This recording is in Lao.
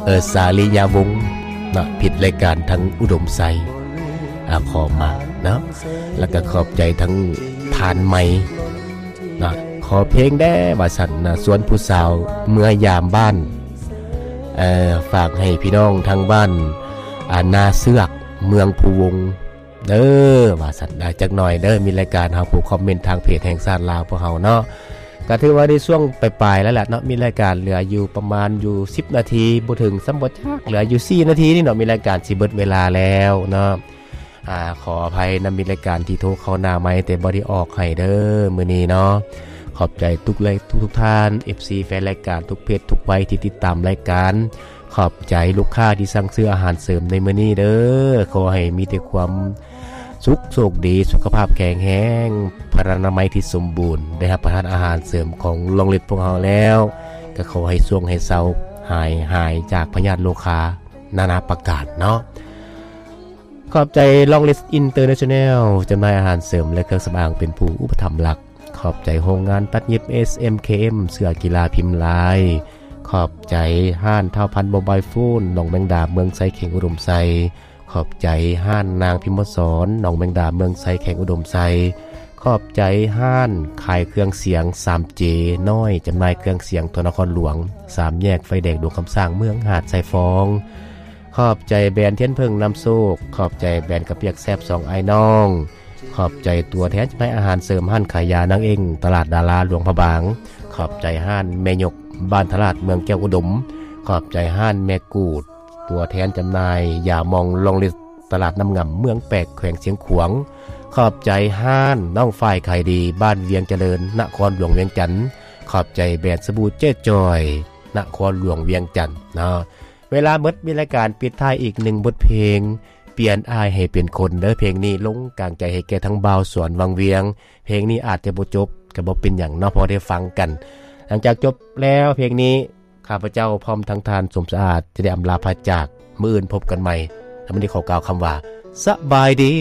ເອີ ສາລິຍະວົງເນາະ ຜິດລາຍການທາງອຸດົມໄຊ ອາ ຂໍມາເນາະ ແລ້ວກໍຂອບໃຈທັງທ່ານໃໝ່ເນາະ ຂໍເພງແດ່ວ່າຊັ້ນນະ ຊວນຜູ້ສາວເມືອຍາມບ້ານ ເອີ ຝາກໃຫ້ພີ່ນ້ອງທາງບ້ານ ອາ ນາເຊືອກ ເມືອງພູວົງ ເດີ ວ່າຊັ້ນນະ ຈັກໜ່ອຍເດີ ມີລາຍການເຮົາຜູ້ຄອມເມັນທາງເພຈແຫ່ງຊາດລາວພວກເຮົາເນາະ ກໍຖືວ່າໃນຊ່ວງປາຍໆແລ້ວລະເນາະ ມີລາຍການເຫຼືອຢູ່ປະມານຢູ່ສິບນາທີ ບໍ່ເຖິງຊ້ຳບໍ່ຈັກ ເຫຼືອຢູ່ສີ່ນາທີນີ້ເນາະ ມີລາຍການຊິເບິດເວລາແລ້ວເນາະ ອາ ຂໍອະໄພນຳ ມີລາຍການທີ່ໂທເຂົ້າໜ້າໄມ ແຕ່ບໍ່ໄດ້ອອກໃຫ້ເດີມື້ນີ້ເນາະ ຂອບໃຈທຸກ ແລະ ທຸກໆທ່ານ ເອັຟຊີ ແຟນລາຍການ ທຸກເພດທຸກໄວທີ່ຕິດຕາມລາຍການ ຂອບໃຈລູກຄ້າທີ່ສັ່ງຊື້ອາຫານເສີມໃນມື້ນີ້ເດີ ຂໍໃຫ້ມີແຕ່ຄວາມສຸກໂຊກດີ ສຸຂະພາບແຂງແຮງ ພະລານາໄມທີ່ສົມບູນ ໄດ້ຮັບປະທານອາຫານເສີມຂອງລອງລິດພວກເຮົາແລ້ວ ກໍຂໍໃຫ້ຊ່ວງໃຫ້ເຊົາ ຫາຍ ຫາຍຈາກພະຍາດໂລຄານານາປະການເນາະ ຂອບໃຈ Long List International ຈຳໜ່າຍອາຫານເສີມ ແລະ ເຄື່ອງສຳອາງ ເປັນຜູ້ອຸປະຖຳຫຼັກ ຂອບໃຈໂຮງງານຕັດເຢັບ ເອສເອັມເຄເອັມ ເສື້ອກິລາພິມລາຍ ຂອບໃຈຮ້ານທ້າວພັນໂມບາຍໂຟນ ໜອງແມງດາ ເມືອງໄຊ ແຂວງອຸດົມໄຊ ຂອບໃຈຮ້ານນາງພິມມະສອນ ໜອງແມງດາ ເມືອງໄຊ ແຂວງອຸດົມໄຊ ຂອບໃຈຮ້ານຂາຍເຄື່ອງສຽງ ສາມເຈ ນ້ອຍ ຈຳໜ່າຍເຄື່ອງສຽງທົ່ວນະຄອນຫຼວງ ສາມແຍກໄຟແດງ ຫຼວງຄຳສ້າງ ເມືອງຫາດຊາຍຟອງ ຂອບໃຈແບຣນທຽນເຜິ້ງນຳໂຊກ ຂອບໃຈແບຣນກະປຽກແຊບສອງອ້າຍນ້ອງ ຂອບໃຈຕົວແທນຈຳໜ່າຍອາຫານເສີມຮ້ານຂາຍຢານາງເອັງ ຕະຫຼາດດາລາ ຫຼວງພະບາງ ຂອບໃຈຮ້ານແມ່ຍົກ ບ້ານທະລາດ ເມືອງແກ້ວອຸດົມ ຂອບໃຈຮ້ານແມ່ກູດ ຕົວແທນຈຳໜ່າຍຢາມອງ Long List ຕະຫຼາດນ້ຳງຳ ເມືອງແປກ ແຂວງຊຽງຂວາງ ຂອບໃຈຮ້ານນ້ອງຝ້າຍຂາຍດີ ບ້ານວຽງຈະເລີນ ນະຄອນຫຼວງວຽງຈັນ ຂອບໃຈແບຣນສະບູເຈ້ຈອຍ ນະຄອນຫຼວງວຽງຈັນເນາະ ເວລາໝົດ ມີລາຍການປິດທ້າຍອີກໜຶ່ງບົດເພງ ປ່ຽນອ້າຍໃຫ້ເປັນຄົນເດີ ເພງນີ້ລົງກາງໃຈໃຫ້ແກ່ທັງບ່າວສອນວັງວຽງ ເພງນີ້ອາດຈະບໍ່ຈົບ ກໍບໍ່ເປັນຫຍັງເນາະ ພໍໄດ້ຟັງກັນ ຫຼັງຈາກຈົບແລ້ວເພງນີ້ ຂ້າພະເຈົ້າພ້ອມທັງທ່ານສົມສະອາດ ຈະໄດ້ອຳລາພາຈາກ ມື້ອື່ນພົບກັນໃໝ່ ແຕ່ມື້ນີ້ຂໍກ່າວຄຳວ່າ ສະບາຍດີ.